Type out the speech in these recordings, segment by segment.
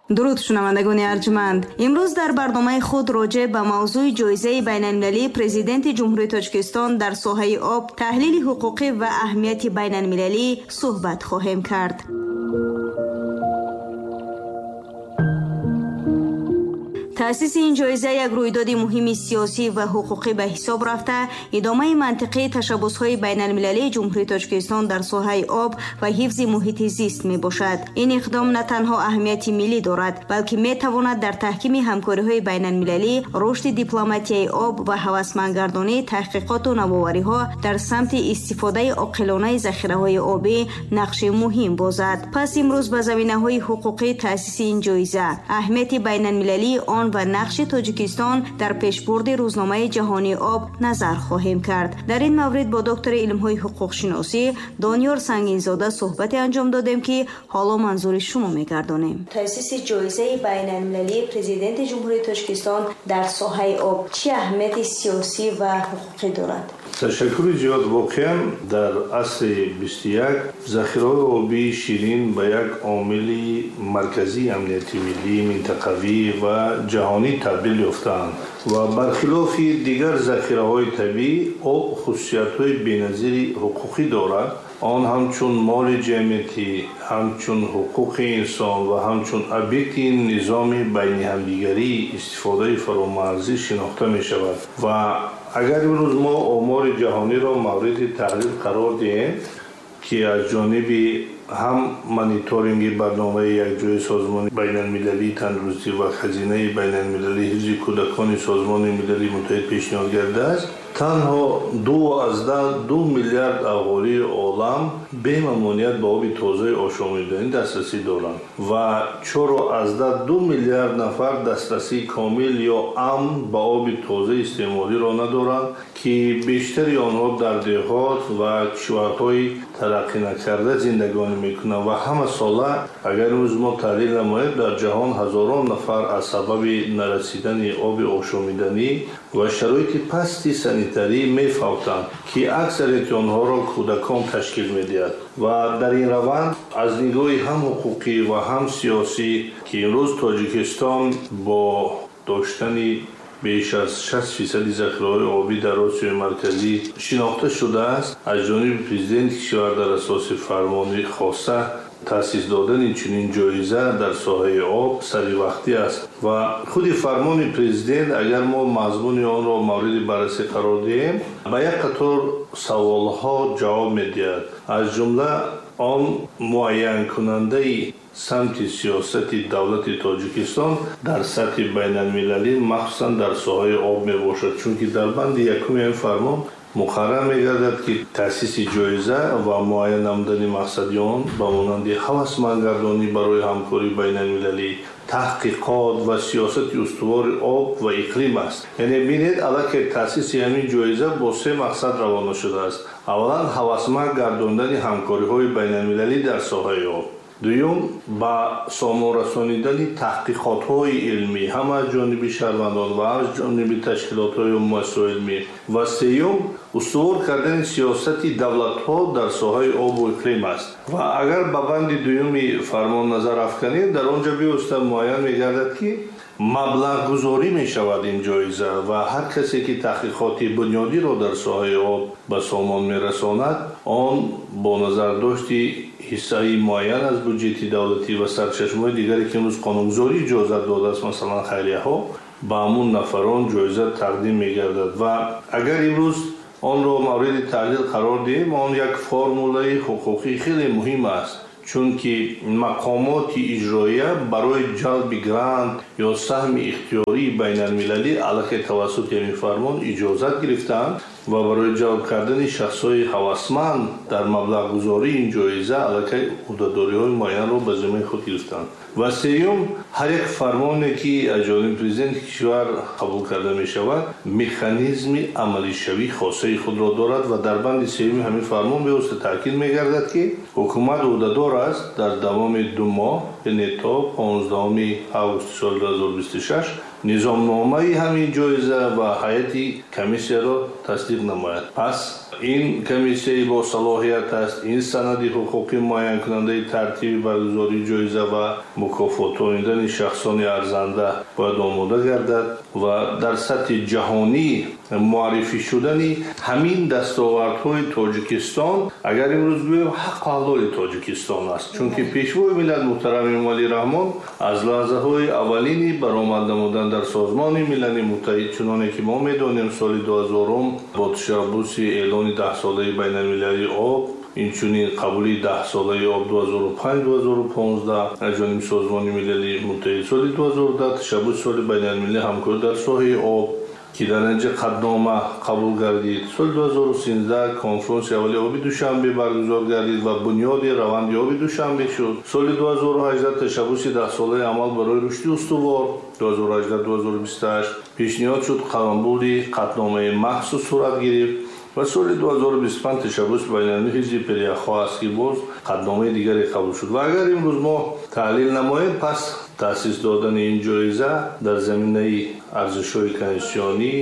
Дуруд, шунавандагони арҷманд. Имрӯз дар барномаи худ роҷеъ ба мавзӯи ҷоизаи байналмилалии Президенти Ҷумҳурии Тоҷикистон дар соҳаи об, таҳлили ҳуқуқӣ ва аҳамияти байналмилалӣ суҳбат хоҳем кард. Таъсиси ин ҷоиза як рӯйдоди муҳими сиёсӣ ва ҳуқуқӣ ба ҳисоб рафта, идомаи мантиқии ташаббусҳои байналмилалии Ҷумҳурии Тоҷикистон дар соҳаи об ва ҳифзи муҳити зист мебошад. Ин иқдом на танҳо аҳамияти миллӣ дорад, балки метавонад дар таҳкими ҳамкориҳои байналмилалӣ, рушди дипломатияи об ва ҳавасмандгардонии таҳқиқоту навовариҳо дар самти истифодаи оқилонаи захираҳои обӣ нақши муҳим бозад. Пас имрӯз ба заминаҳои ҳуқуқии таъсиси ин ҷоиза, аҳамияти байналмилалии он ва нақши Тоҷикистон дар пешбурди рӯзномаи ҷаҳонии об назар хоҳем кард. Дар ин маврид бо доктори илмҳои ҳуқуқшиносӣ Дониёр Сангинзода суҳбате анҷом додем, ки ҳоло манзури шумо мегардонем. Таъсиси ҷоизаи байналмилалии Президенти Ҷумҳурии Тоҷикистон дар соҳаи об чӣ аҳамияти сиёсӣ ва ҳуқуқӣ дорад? Ташаккури зиёд. Воқеан, дар асри 21 захираҳои обии ширин ба як омили марказии амнияти миллӣ, минтақавӣ ва ҷаҳонӣ табдил ёфтаанд ва бархилофи дигар захираҳои табиӣ об хусусиятҳои беназири ҳуқуқӣ дорад. Он ҳамчун моли ҷамъиятӣ, ҳамчун ҳуқуқи инсон ва ҳамчун объекти низоми байни ҳамдигарии истифодаи фаромарзӣ шинохта мешавад. Ва агар имрӯз мо омори ҷаҳониро мавриди таҳлил қарор диҳем, ки аз ҷониби ҳам мониторинги барномаи якҷояи Созмони байналмилалии тандурустӣ ва Хазинаи байналмилалии ҳифзи кӯдакони Созмони Милали Муттаҳид пешниҳод гардааст, танҳо 2,2 миллиард аҳолии олам бемамоният ба оби тозаи ошомиданӣ дастрасӣ доранд ва 4,2 миллиард нафар дастрасии комил ё амн ба оби тозаи истеъмолиро надоранд, ки бештари онҳо дар деҳот ва кишварҳои тараққӣ накарда зиндагонӣ мекунанд. Ва ҳама сола, агар имрӯз мо таҳлил намоем, дар ҷаҳон ҳазорон нафар аз сабаби нарасидани оби ошомиданӣ ва шароити пасти санитарӣ мефавтанд, ки аксарияти онҳоро кӯдакон ташкил медиҳад. Ва дар ин раванд аз нигоҳи ҳам ҳуқуқӣ ва ҳам сиёсӣ, ки имрӯз Тоҷикистон бо доштани беш аз 60% захираҳои обӣ дар Осиёи Марказӣ шинохта шудааст, аз ҷониби президенти кишвар дар асоси фармони хоса таъсис додани чунин ҷоиза дар соҳаи об саривақтӣ аст. Ва худи фармони президент, агар мо мазмуни онро мавриди баррасӣ қарор диҳем, ба як қатор саволҳо ҷавоб медиҳад. Аз ҷумла он муайянкунандаи самти сиёсати давлати Тоҷикистон дар сатҳи байналмилалӣ, махсусан дар соҳаи об мебошад, чунки дар банди якуми ин фармон муқаррар мегардад, ки таъсиси ҷоиза ва муайян намудани мақсади он ба монанди ҳавасмандгардонӣ барои ҳамкории байналмилалӣ, таҳқиқот ва сиёсати устувори об ва иқлим аст. Яъне бинед, аллакай таъсиси ҳамин ҷоиза бо се мақсад равона шудааст. Аввалан, ҳавасманд гардондани ҳамкориҳои байналмилалӣ дар соҳаи об. Дуюм, ба сомон расонидани таҳқиқотҳои илмӣ ҳам аз ҷониби шаҳрвандон ва аз ҷониби ташкилотҳои муассисаҳои илмӣ. Ва сеюм, устувор кардани сиёсати давлатҳо дар соҳаи обу иқлим аст. Ва агар ба банди дуюми фармон назар афканем, дар он ҷо бевосита муайян мегардад, ки маблағгузорӣ мешавад ин ҷоиза ва ҳар касе ки таҳқиқоти бунёдиро дар соҳаи об ба сомон мерасонад, он бо назардошти ҳиссаи муайян аз буҷети давлатӣ ва сарчашмаҳои дигаре, ки имрӯз қонунгузорӣ иҷозат додааст, масалан хайрияҳо, ба ҳамун нафарон ҷоиза тақдим мегардад. Ва агар имрӯз онро мавриди таҳлил қарор диҳем, он як формулаи ҳуқуқӣ хеле муҳим аст, чунки мақомоти иҷроия барои ҷалби грант ё саҳми ихтиёрии байналмилалӣ аллакай тавассути ҳамин фармон иҷозат гирифтаанд ва барои ҷалб кардани шахсҳои ҳавасманд дар маблағгузории ин ҷоиза аллакай ӯҳдадориҳои муайянро ба зиммаи худ гирифтаанд. Ва сеюм, ҳар як фармоне, ки аз ҷониби президенти кишвар қабул карда мешавад, механизми амалишавии хосаи худро дорад ва дар банди сеюми ҳамин фармон бевосита таъкид мегардад, ки ҳукумат ӯҳдадор аст дар давоми 2 моҳ, яъне то 15 августи соли 2026, Низомномаи ҳамин ҷоиза ва ҳайати комиссияро тасдиқ намояд. Пас ин комиссияи бо салоҳият аст. Ин санади ҳуқуқӣ муайянкунандаи тартиби баргузории ҷоиза ва мукофотонидани шахсони арзанда бояд омода гардад ва дар сатҳи ҷаҳонӣ муаррифӣ шудани ҳамин дастовардҳои Тоҷикистон, агар имрӯз гӯем, ҳаққу ҳалоли Тоҷикистон аст. Чунки Пешвои миллат муҳтарам Эмомалӣ Раҳмон аз лаҳзаҳои аввалини баромад намудан дар Созмони Милали Муттаҳид, чуноне ки мо медонем, соли 2000 бо ташаббуси эълони даҳсолаи байналмилалии об, инчунин қабули даҳсолаи об 2005-2015 аз ҷониби Созмони Милали Муттаҳид, соли 2010 ташаббуси соли байналмилалии ҳамкорӣ дар соҳаи об, ки дар натиҷа қатънома қабул гардид, соли 2013 конфронси аввали оби Душанбе баргузор гардид ва бунёди раванди оби Душанбе шуд. Соли 2018 ташаббуси даҳсолаи амал барои рушди устувор 2018-2028 пешниҳод шуд, қабули қатъномаи махсус сурат гирифт ва соли 2025 ташаббуси байналмилалии ҳизби пиряхҳо аст, ки боз қатъномаи дигаре қабул шуд. Ва агар имрӯз мо таҳлил намоем, пас таъсис додани ин ҷоиза дар заминаи арзишҳои конститутсионӣ,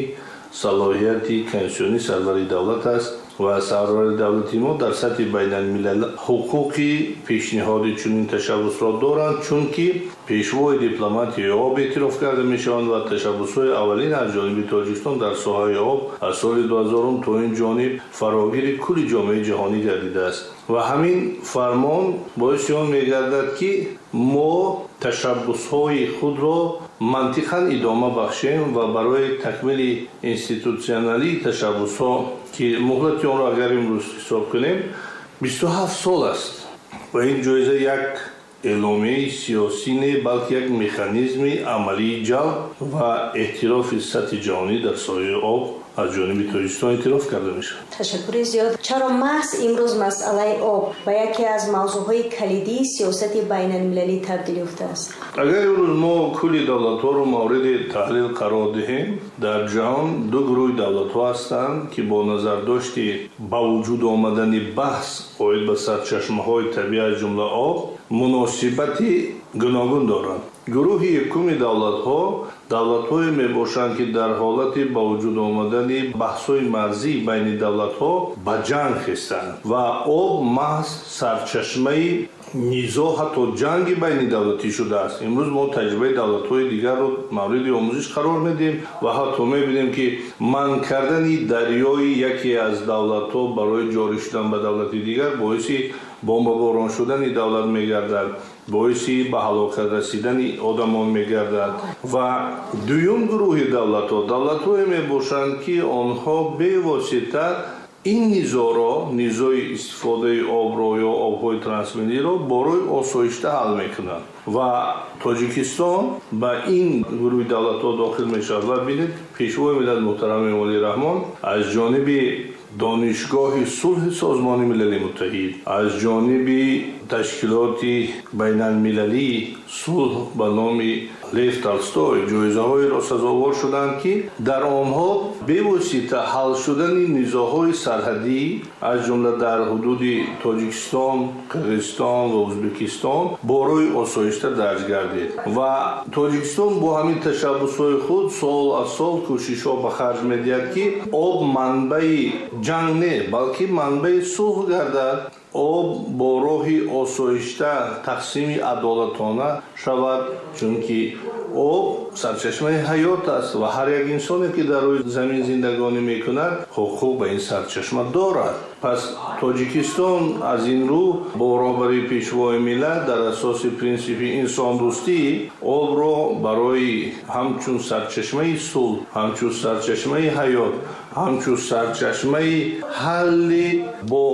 салоҳияти конститутсионии сарвари давлат аст ва сарвари давлати мо дар сатҳи байналмилал ҳуқуқи пешниҳоди чунин ташаббусро доранд, чунки пешвои дипломатияи об эътироф карда мешаванд ва ташаббусҳои аввалин аз ҷониби Тоҷикистон дар соҳаи об аз соли 2000 то ин ҷониб фарогири кулли ҷомеаи ҷаҳонӣ гардидааст. Ва ҳамин фармон боиси он мегардад, ки мо ташаббусҳои худро мантиқан идома бахшем ва барои такмили институтсионалии ташаббусҳо, ки муҳлати онро агар имрӯз ҳисоб кунем, 27 сол аст ва ин ҷоиза як эъломияи сиёсӣ не, балки як механизми амалии ҷалб ва эътирофи сатҳи ҷаҳонӣ дар соҳаи об аз ҷониби Тоҷикистон эътироф карда мешавад. Ташаккури зиёд. Чаро маҳз имрӯз масъалаи об ба яке аз мавзӯъҳои калидии сиёсати байналмилалӣ табдил ёфтааст? Агар имрӯз мо кулли давлатҳоро мавриди таҳлил қарор диҳем, дар ҷаҳон ду гурӯҳи давлатҳо ҳастанд, ки бо назардошти ба вуҷуд омадани баҳс оид ба сарчашмаҳои табиӣ, аз ҷумла об, муносибати гуногун доранд. Гурӯҳи якуми давлатҳо давлатҳое мебошанд, ки дар ҳолати ба вуҷуд омадани баҳсҳои марзӣ байни давлатҳо ба ҷанг хестанд ва об маҳз сарчашмаи низоъ, ҳатто ҷанги байнидавлатӣ шудааст. Имрӯз мо таҷрибаи давлатҳои дигарро мавриди омӯзиш қарор медиҳем ва ҳатто мебинем, ки манъ кардани дарёи яке аз давлатҳо барои ҷорӣ шудан ба давлати дигар боиси бомбаборон шудани давлат мегардад, боиси ба ҳалокат расидани одамон мегардад. Ва дуюм гурӯҳи давлатҳо давлатҳое мебошанд, ки онҳо бевосита ин низоъро, низои истифодаи обро ё обҳои трансмиллиро барои осоишта ҳал мекунанд ва Тоҷикистон ба ин гурӯҳи давлатҳо дохил мешавад. Ва бинед, Пешвои миллат муҳтарам Эмомалӣ Раҳмон аз ҷониби Донишгоҳи сулҳи Созмони Милали Муттаҳид, аз ҷониби ташкилоти байналмилалии сулҳ ба номи Лев Толстой ҷоизаҳоеро сазовор шуданд, ки дар онҳо бевосита ҳал шудани низоъҳои сарҳадӣ, аз ҷумла дар ҳудуди Тоҷикистон, Қирғизистон ва Ӯзбекистон, барои осоишта дарҷ гардид. Ва Тоҷикистон бо ҳамин ташаббусҳои худ сол аз сол кӯшишҳо ба харҷ медиҳад, ки об манбаи ҷанг не, балки манбаи сулҳ гардад, об бо роҳи осоишта тақсими адолатона шавад, чунки об сарчашмаи ҳаёт аст ва ҳар як инсоне, ки дар рӯи замин зиндагонӣ мекунад, ҳуқуқ ба ин сарчашма дорад. Пас Тоҷикистон аз ин рӯ бо роҳбарии Пешвои миллат дар асоси принсипи инсондӯстӣ обро барои ҳамчун сарчашмаи сулҳ, ҳамчун сарчашмаи ҳаёт, ҳамчун сарчашмаи ҳалли бо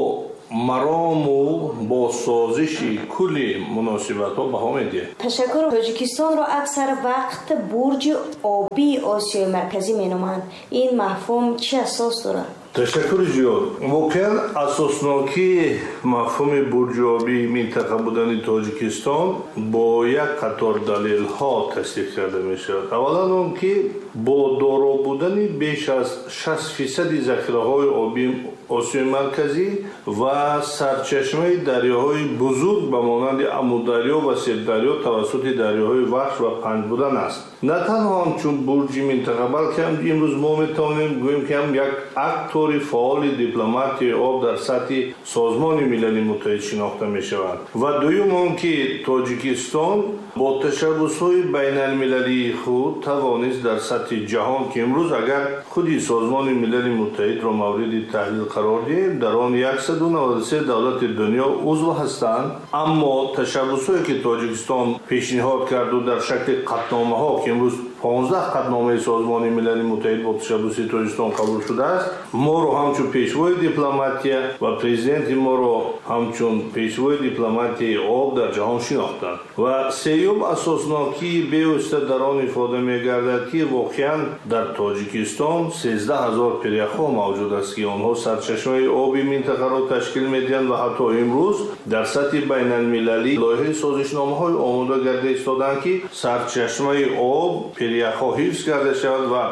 марому бо созиши кулли муносибатҳо баҳо медиҳад. Ташаккур. Тоҷикистонро аксар вақт бурҷи обии Осиёи Марказӣ меноманд. Ин мафҳум чӣ асос дорад? Ташаккури зиёд. Воқеан, асоснокии мафҳуми бурҷи обии минтақа будани Тоҷикистон бо як қатор далелҳо тасдиқ карда мешавад. Аввалан он ки бо доро будани беш аз 60 фисади захираҳои обии Осиёи Марказӣ ва сарчашмаи дарёҳои бузург ба монанди Амударё ва Сирдарё тавассути дарёҳои Вахш ва Панҷ будан аст. На танҳо ҳамчун бурҷи минтақа, балки ҳам имрӯз мо метавонем гӯем, ки ҳам як актори фаъоли дипломатияи об дар сатҳи Созмони Милали Муттаҳид шинохта мешавад. Ва дуюм он ки Тоҷикистон бо ташаббусҳои байналмилалии худ тавонист дар сатҳи ҷаҳон, ки имрӯз агар худи Созмони Милали Муттаҳидро мавриди таҳлил қарор диҳем, дар он 193 давлати дунё узв ҳастанд, аммо ташаббусҳое ки Тоҷикистон пешниҳод карду дар шакли қатъномаҳо, ки имрӯз 15 қатъномаи Созмони Милали Муттаҳид бо ташаббуси Тоҷикистон қабул шудааст, моро ҳамчун пешвои дипломатия ва президенти моро ҳамчун пешвои дипломатияи об дар ҷаҳон шинохтанд. Ва сеюм асоснокии бевосита дар он ифода мегардад, ки воқеан дар Тоҷикистон 13 ҳазор пиряхҳо мавҷуд аст, ки онҳо сарчашмаи оби минтақаро ташкил медиҳанд ва ҳатто имрӯз дар сатҳи байналмилалӣ лоиҳаи созишномаҳои омода карда истодаанд, ки сарчашмаи об пиряхҳо ҳифз карда шавад ва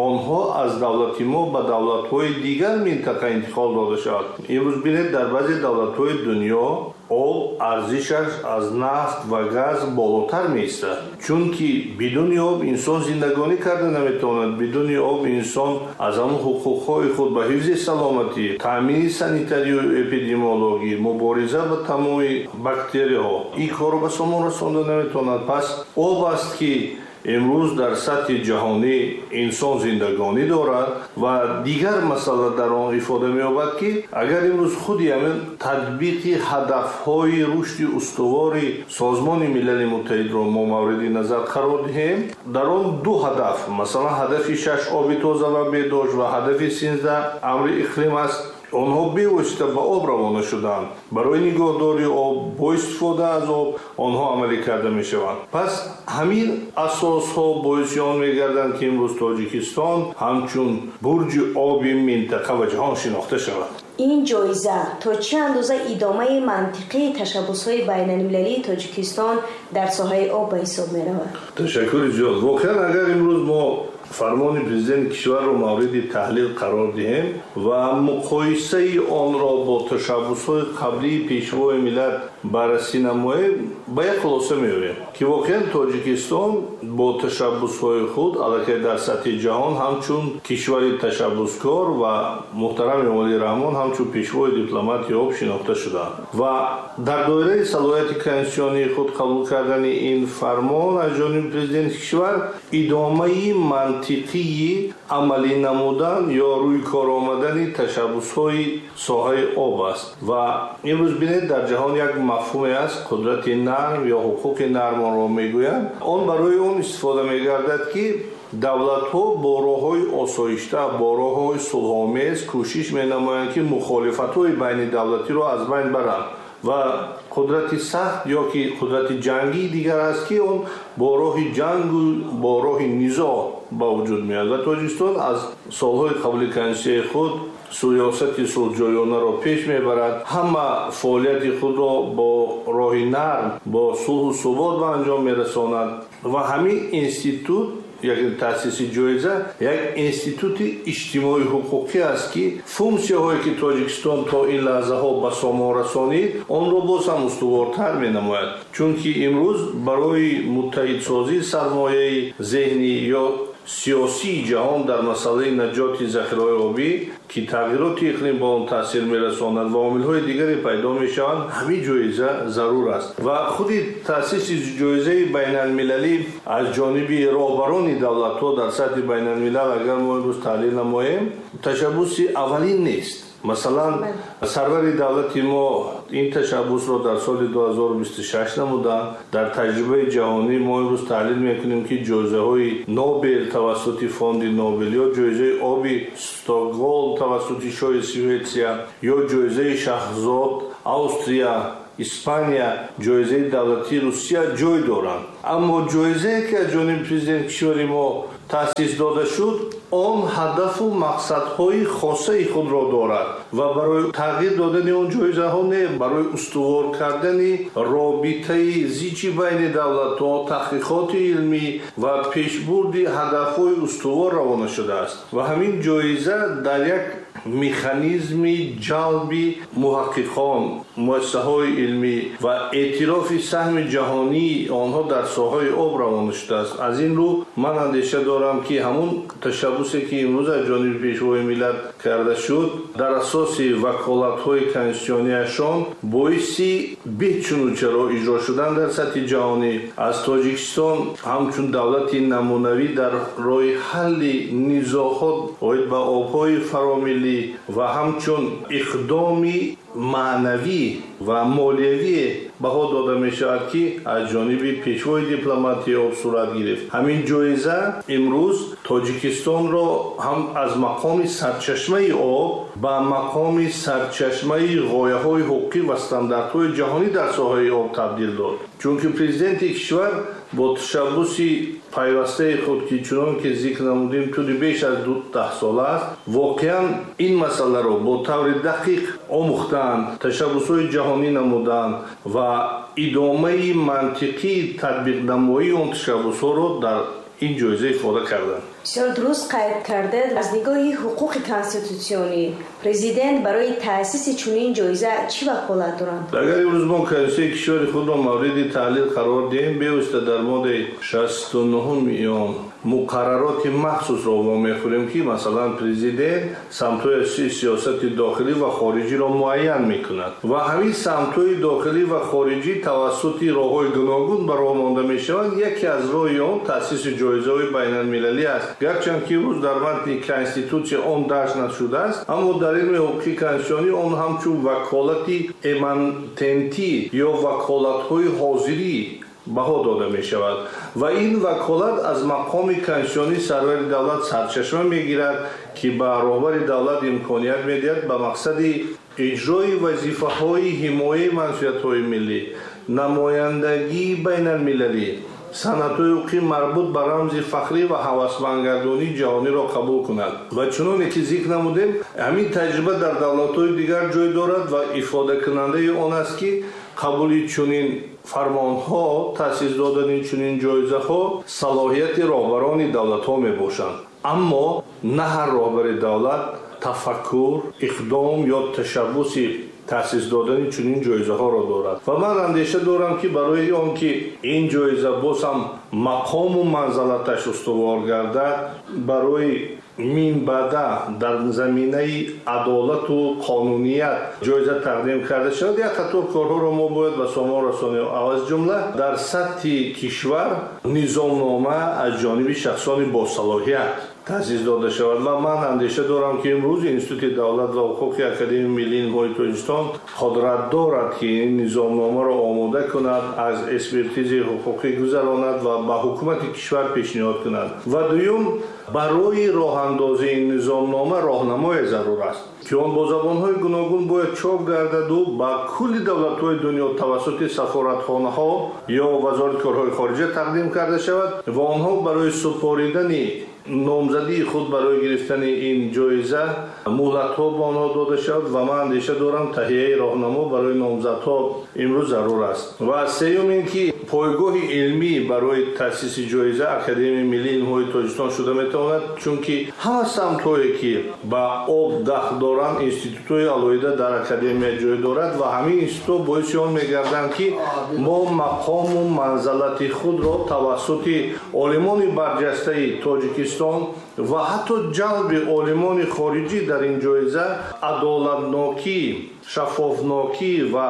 онҳо аз давлати мо ба давлатҳои дигар минтақа интиқол дода шавад. Имрӯз бинед, дар баъзе давлатҳои дунё об арзишаш аз нафт ва газ болотар меистад, чунки бидуни об инсон зиндагонӣ карда наметавонад. Бидуни об инсон аз ҳамон ҳуқуқҳои худ ба ҳифзи саломатӣ, таъмини санитарию эпидемиологӣ, мубориза ба тамоми бактерияҳо ин корро ба сомон расонда наметавонад. Пас об аст, ки имрӯз дар сатҳи ҷаҳонӣ инсон зиндагонӣ дорад. Ва дигар масъала дар он ифода меёбад, ки агар имрӯз худи ҳамин татбиқи ҳадафҳои рушди устувори Созмони Милали Муттаҳидро мо мавриди назар қарор диҳем, дар он ду ҳадаф, масалан ҳадафи 6 оби тоза ва беҳдошт ва ҳадафи 13 амри иқлим аст, онҳо бевосита ба об равона шуданд. Барои нигоҳдории об, бо истифода аз об онҳо амалӣ карда мешаванд. Пас ҳамин асосҳо боиси он мегарданд, ки имрӯз Тоҷикистон ҳамчун бурҷи оби минтақа ва ҷаҳон шинохта шавад. Ин ҷоиза то чӣ андоза идомаи мантиқии ташаббусҳои байналмилалии Тоҷикистон дар соҳаи об ба ҳисоб меравад? Ташаккури зиёд. Воқеан агар имрӯз мо фармони президенти кишварро мавриди таҳлил қарор диҳем ва муқоисаи онро бо ташаббусҳои қаблии пешвои миллат баррасӣ намоем, ба як хулоса меоем, ки воқеан Тоҷикистон бо ташаббусҳои худ аллакай дар сатҳи ҷаҳон ҳамчун кишвари ташаббускор ва муҳтарам Эмомалӣ Раҳмон ҳамчун пешвои дипломатии об шинохта шуданд. Ва дар доираи салоҳияти конститутсионии худ қабул кардани ин фармон аз ҷониби президенти кишвар идомаи мантиқии амалӣ намудан ё рӯй кор омадани ташаббусҳои соҳаи об аст. Ва имрӯз бинед, дар ҷаҳон як мафҳуме аст, қудрати нарм ё ҳуқуқи нарм онро мегӯянд. Он барои он истифода мегардад, ки давлатҳо бо роҳҳои осоишта, бо роҳҳои сулҳомез кӯшиш менамоянд, ки мухолифатҳои байни давлатиро аз байн баранд. Ва қудрати сахт ё ки қудрати ҷангии дигар аст, ки он бо роҳи ҷангу бо роҳи низоъ ба вуҷуд меояд. Ва Тоҷикистон аз солҳои қабли конститутсияи худ сиёсати сулҳҷӯёнаро пеш мебарад, ҳама фаъолияти худро бо роҳи нарм, бо сулҳу субот ба анҷом мерасонад. Ва ҳамин институт, як таъсиси ҷоиза, як институти иҷтимоии ҳуқуқӣ аст, ки функсияҳое ки Тоҷикистон то ин лаҳзаҳо ба сомон расонид, онро боз ҳам устувортар менамояд. Чунки имрӯз барои муттаҳидсозии сармояи зеҳнӣ ё сиёсии ҷаҳон дар масъалаи наҷоти захираҳои обӣ, ки тағйироти иқлим ба он таъсир мерасонад ва омилҳои дигаре пайдо мешаванд, ҳамин ҷоиза зарур аст. Ва худи таъсиси ҷоизаи байналмилалӣ аз ҷониби роҳбарони давлатҳо дар сатҳи байналмилал, агар мо имрӯз таҳлил намоем, ташаббуси аввалин нест. Масалан, сарвари давлати мо ин ташаббусро дар соли 2026 намуданд. Дар таҷрибаи ҷаҳонӣ мо имрӯз таҳлил мекунем, ки ҷоизаҳои Нобел тавассути фонди Нобел ё ҷоизаи оби Стокголм тавассути шоҳи Шветсия ё ҷоизаи Шаҳзод Австрия, Испания, ҷоизаи давлатии Русия ҷой доранд. Аммо ҷоизае, ки аз ҷониби президенти кишвари мо таъсис дода шуд, он ҳадафу мақсадҳои хосаи худро дорад ва барои тағйир додани он ҷоизаҳо не, барои устувор кардани робитаи зичи байни давлатҳо, таҳқиқоти илмӣ ва пешбурди ҳадафҳои устувор равона шудааст. Ва ҳамин ҷоиза дар як механизми ҷалби муҳаққиқон, муассисаҳои илмӣ ва эътирофи саҳми ҷаҳонии онҳо дар соҳаи об равона шудааст. Аз ин рӯ ман андеша дорам, ки ҳамун ташаббусе, ки имрӯз аз ҷониби Пешвои миллат карда шуд, дар асоси ваколатҳои конститутсионияшон боиси бечунучаро иҷро шудан дар сатҳи ҷаҳонӣ аз Тоҷикистон ҳамчун давлати намунавӣ дар роҳи ҳалли низоъҳо оид ба обҳои фаромиллӣ ва ҳамчун иқдоми маънавӣ ва молиявӣ баҳо дода мешавад, ки аз ҷониби пешвои дипломатии об сурат гирифт. Ҳамин ҷоиза имрӯз Тоҷикистонро ҳам аз мақоми сарчашмаи об ба мақоми сарчашмаи ғояҳои ҳуқуқӣ ва стандартҳои ҷаҳонӣ дар соҳаи об табдил дод. Чунки президенти кишвар бо ташаббуси пайвастаи худ, ки чунон ки зикр намудем, тӯли беш аз 10 сола аст, воқеан ин масъаларо бо таври дақиқ омӯхтаанд, ташаббусҳои ҷаҳонӣ намуданд ва идомаи мантиқии татбиқнамоии он ташаббусҳоро дар ин ҷоиза ифода карданд. Бисёр дуруст қайд кардед. Аз нигоҳи ҳуқуқи конститутсионӣ президент барои таъсиси чунин ҷоиза чӣ ваколат доранд? Агар имрӯз мо конститутсияи кишвари худро мавриди таҳлил қарор диҳем, бевосита дар моддаи 69 он муқаррароти махсусро вомехӯрем, ки масалан президент самтҳои сиёсати дохилӣ ва хориҷиро муайян мекунад ва ҳамин самтҳои дохилӣ ва хориҷӣ тавассути роҳҳои гуногун ба роҳ монда мешаванд. Яке аз роҳи он таъсиси ҷоизаҳои байналмилалӣ аст. Гарчанд ки имрӯз дар матни конститутсия он дарҷ нашудааст, аммо дар илми ҳуқуқи конститутсионӣ он ҳамчун ваколати эмантентӣ ё ваколатҳои ҳозирӣ баҳо дода мешавад ва ин ваколат аз мақоми конститутсионии сарвари давлат сарчашма мегирад, ки ба роҳбари давлат имконият медиҳад ба мақсади иҷрои вазифаҳои ҳимояи манфиатҳои миллӣ, намояндагии байналмилалӣ, санадҳои ҳуқуқӣ марбут ба рамзи фахрӣ ва ҳавасмандгардонии ҷаҳониро қабул кунад. Ва чуноне ки зикр намудем, ҳамин таҷриба дар давлатҳои дигар ҷой дорад ва ифодакунандаи он аст, ки қабули чунин фармонҳо, таъсис додани чунин ҷоизаҳо салоҳияти роҳбарони давлатҳо мебошанд. Аммо на ҳар роҳбари давлат тафаккур, иқдом ё ташаббуси таъсис додани чунин ҷоизаҳоро дорад. Ва ман андеша дорам, ки барои он ки ин ҷоиза боз ҳам мақому манзалаташ устувор гардад, барои минбаъда дар заминаи адолату қонуният ҷоиза тақдим карда шавад, як қатор корҳоро мо бояд ба сомон расонем. Аз ҷумла дар сатҳи кишвар низомнома аз ҷониби шахсони босалоҳият таъсис дода шавад. Ва ман андеша дорам, ки имрӯз Институти давлат ва ҳуқуқи Академияи миллии илмҳои Тоҷикистон қудрат дорад, ки ин низомномаро омода кунад, аз экспертизи ҳуқуқӣ гузаронад ва ба ҳукумати кишвар пешниҳод кунад. Ва дуюм, барои роҳандозии ин низомнома роҳнамое зарур аст, ки он бо забонҳои гуногун бояд чоп гардаду ба кулли давлатҳои дунё тавассути сафоратхонаҳо ё вазорати корҳои хориҷа тақдим карда шавад ва онҳо барои супоридани номзадии худ барои гирифтани ин ҷоиза муҳлатҳо ба онҳо дода шавад. Ва ман андеша дорам, таҳияи роҳнамо барои номзадҳо имрӯз зарур аст. Ва сеюм ин ки пойгоҳи илмӣ барои таъсиси ҷоиза Академияи миллии илмҳои Тоҷикистон шуда метавонад, чунки ҳама самтҳое ки ба об дахл доранд, институтҳои алоҳида дар академия ҷой дорад ва ҳамин институтҳо боиси он мегарданд, ки мо мақому манзалати худро тавассути олимони барҷастаи Тоҷикистон ва ҳатто ҷалби олимони хориҷӣ дар ин ҷоиза адолатнокӣ, шаффофнокӣ ва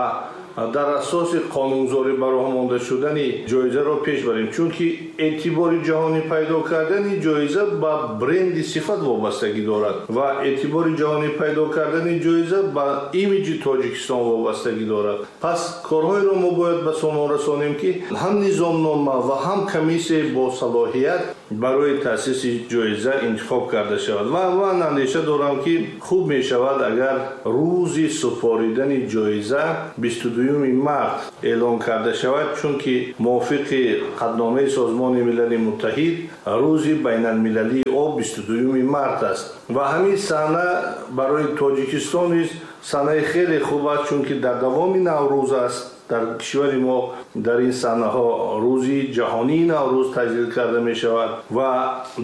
дар асоси қонунгузорӣ ба роҳ монда шудани ҷоизаро пеш барем. Чунки эътибори ҷаҳонӣ пайдо кардани ҷоиза ба бренди сифат вобастагӣ дорад ва эътибори ҷаҳонӣ пайдо кардани ҷоиза ба имиҷи Тоҷикистон вобастагӣ дорад. Пас корҳоеро мо бояд ба сомон расонем, ки ҳам низомнома ва ҳам комиссияи босалоҳият барои таъсиси ҷоиза интихоб карда шавад. Ва ман андеша дорам, ки хуб мешавад, агар рӯзи супоридани ҷоиза 22 март эълон карда шавад, чунки мувофиқи қатъномаи Созмони Милали Муттаҳид рӯзи байналмилалии об 22 март аст. Ва ҳамин саҳна барои Тоҷикистон низ саҳнаи хеле хуб аст, чунки дар давоми Наврӯз аст. Дар кишвари мо дар ин саҳнаҳо рӯзи ҷаҳонии Наврӯз таҷлил карда мешавад ва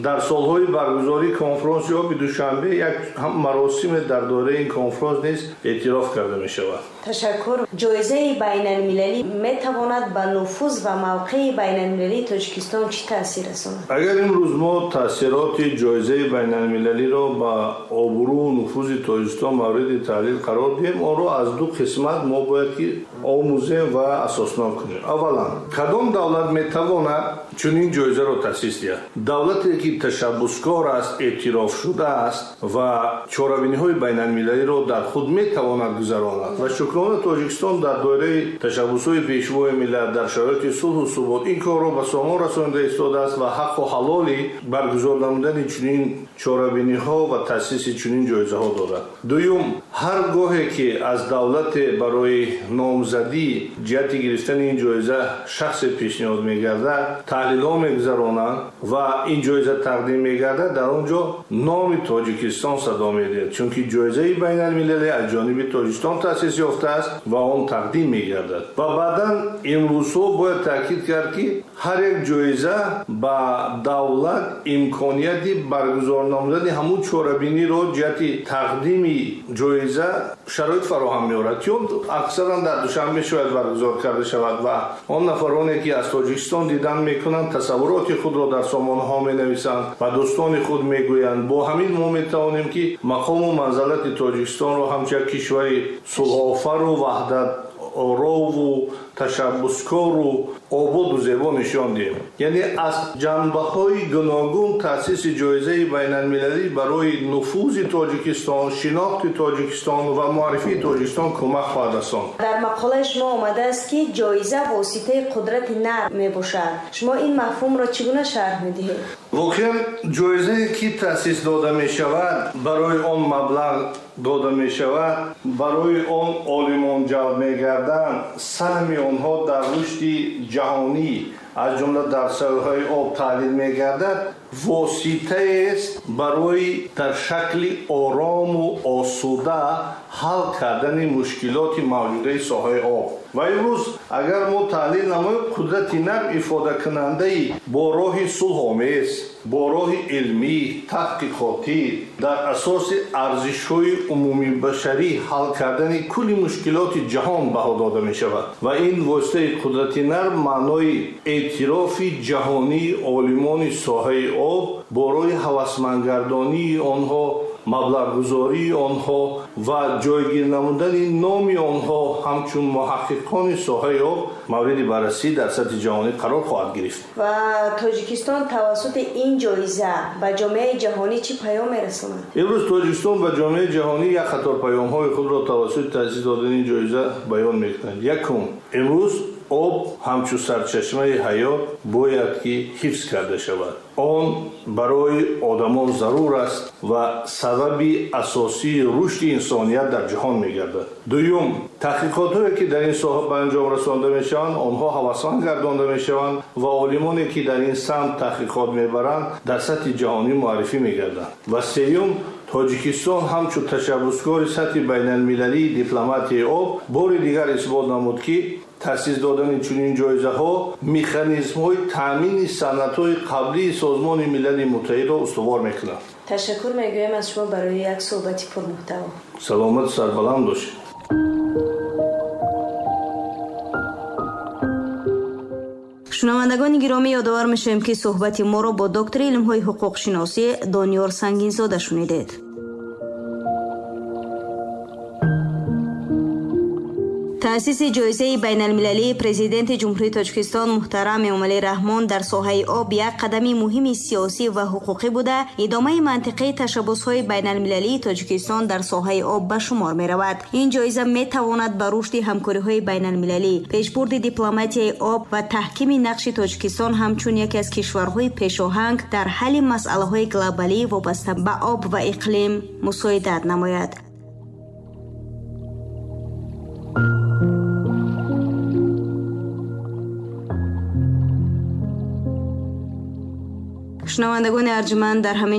дар солҳои баргузории конфронси оби Душанбе як маросиме дар доираи ин конфронс низ эътироф карда мешавад. Ташаккур. Ҷоизаи байналмилалӣ метавонад ба нуфуз ва мавқеи байналмилалии Тоҷикистон чӣ таъсир расонад? Агар имрӯз мо таъсироти ҷоизаи байналмилалиро ба обрӯу нуфузи Тоҷикистон мавриди таҳлил қарор диҳем, онро аз ду қисмат мо бояд ки омӯзем ва асоснок кунем. Аввалан, кадом давлат метавонад чунин ҷоизаро таъсис диҳад? Давлате ки ташаббускор аст, эътироф шудааст ва чорабиниҳои байналмилалиро дар худ метавонад гузаронад. Ва шукрона Тоҷикистон дар доираи ташаббусҳои пешвои миллат дар шароити сулҳу субот ин корро ба сомон расонида истодааст ва ҳаққу ҳалоли баргузор намудани чунин чорабиниҳо ва таъсиси чунин ҷоизаҳо дорад. Дуюм, ҳар гоҳе ки аз давлате барои номзадӣ ҷиҳати гирифтани ин ҷоиза шахсе пешниҳод мегардад, таҳлилҳо мегузаронанд ва ин ҷоиза тақдим мегардад, дар он ҷо номи Тоҷикистон садо медиҳад, чунки ҷоизаи байналмилалӣ аз ҷониби Тоҷикистон таъсис ёфтааст ва он тақдим мегардад. Ва баъдан имрӯзҳо бояд таъкид кард, ки ҳар як ҷоиза ба давлат имконияти баргузор намудани ҳамун чорабиниро ҷиҳати тақдими ҷоиза шароит фароҳам меорад, чун аксаран дар Душанбе шояд баргузор карда шавад ва он нафароне ки аз Тоҷикистон дидан мекунанд, тасаввуроти худро дар сомонаҳо менависанд ва дӯстони худ мегӯянд. Бо ҳамин мо метавонем ки мақому манзалати Тоҷикистонро ҳамчун як кишвари сулҳофару ваҳдаторову ташаббускору ободу зебо нишон диҳем. Яъне аз ҷанбаҳои гуногун таъсиси ҷоизаи байналмилалӣ барои нуфузи Тоҷикистон, шинохти Тоҷикистон ва муаррифии Тоҷикистон кӯмак хоҳад расонд. Дар мақолаи шумо омадааст, ки ҷоиза воситаи қудрати нарм мебошад. Шумо ин мафҳумро чӣ гуна шарҳ медиҳед? Воқеан ҷоизае ки таъсис дода мешавад, барои он маблағ дода мешавад, барои он олимон ҷалб мегарданд, саҳми онҳо дар рушди ҷаҳонӣ аз ҷумла дар соҳаи об таҳлил мегардад, воситаест барои дар шакли орому осуда ҳал кардани мушкилоти мавҷудаи соҳаи об. Ва имрӯз агар мо таҳлил намоем, қудрати нарм ифодакунандаи бо роҳи сулҳомез, бо роҳи илмӣ, таҳқиқотӣ, дар асоси арзишҳои умумибашарӣ ҳал кардани кулли мушкилоти ҷаҳон баҳо дода мешавад. Ва ин воситаи қудрати нарм маънои эътирофи ҷаҳонии олимони соҳаи об бо роҳи ҳавасмандгардонии онҳо, маблағгузории онҳо ва ҷойгир намудани номи онҳо ҳамчун муҳаққиқони соҳаи об мавриди баррасӣ дар сатҳи ҷаҳонӣ қарор хоҳад гирифт. Ва Тоҷикистон тавассути ин ҷоиза ба ҷомеаи ҷаҳонӣ чӣ паём мерасонад? Имрӯз Тоҷикистон ба ҷомеаи ҷаҳонӣ як қатор паёмҳои худро тавассути таъсис додани ин ҷоиза баён мекунад. Якум, имрӯз об ҳамчун сарчашмаи ҳаёт бояд ки ҳифз карда шавад. Он барои одамон зарур аст ва сабаби асосии рушди инсоният дар ҷаҳон мегардад. Дуюм, таҳқиқотҳое ки дар ин соҳа ба анҷом расонда мешаванд, онҳо ҳавасманд гардонда мешаванд ва олимоне ки дар ин самт таҳқиқот мебаранд, дар сатҳи ҷаҳонӣ муаррифӣ мегарданд. Ва сеюм, Тоҷикистон ҳамчун ташаббускори сатҳи байналмилалии дипломатияи об бори дигар исбот намуд, ки таъсис додани чунин ҷоизаҳо механизмҳои таъмини санадҳои қаблии Созмони Милали Муттаҳидро устувор мекунад. Ташаккур мегӯям аз шумо барои як суҳбати пурмуҳтаво. Саломату сарбаланд бошед. Шунавандагони гиромӣ, ёдовар мешавем, ки суҳбати моро бо доктори илмҳои ҳуқуқшиносӣ Дониёр Сангинзода шунидед. Таъсиси ҷоизаи байналмилалии президенти Ҷумҳурии Тоҷикистон муҳтарам Эмомалӣ Раҳмон дар соҳаи об як қадами муҳими сиёсӣ ва ҳуқуқӣ буда, идомаи мантиқии ташаббусҳои байналмилалии Тоҷикистон дар соҳаи об ба шумор меравад. Ин ҷоиза метавонад ба рушди ҳамкориҳои байналмилалӣ, пешбурди дипломатияи об ва таҳкими нақши Тоҷикистон ҳамчун яке аз кишварҳои пешоҳанг дар ҳалли масъалаҳои глобалӣ вобаста ба об ва иқлим мусоидат намояд. Шунавандагони арҷманд, дар ҳамин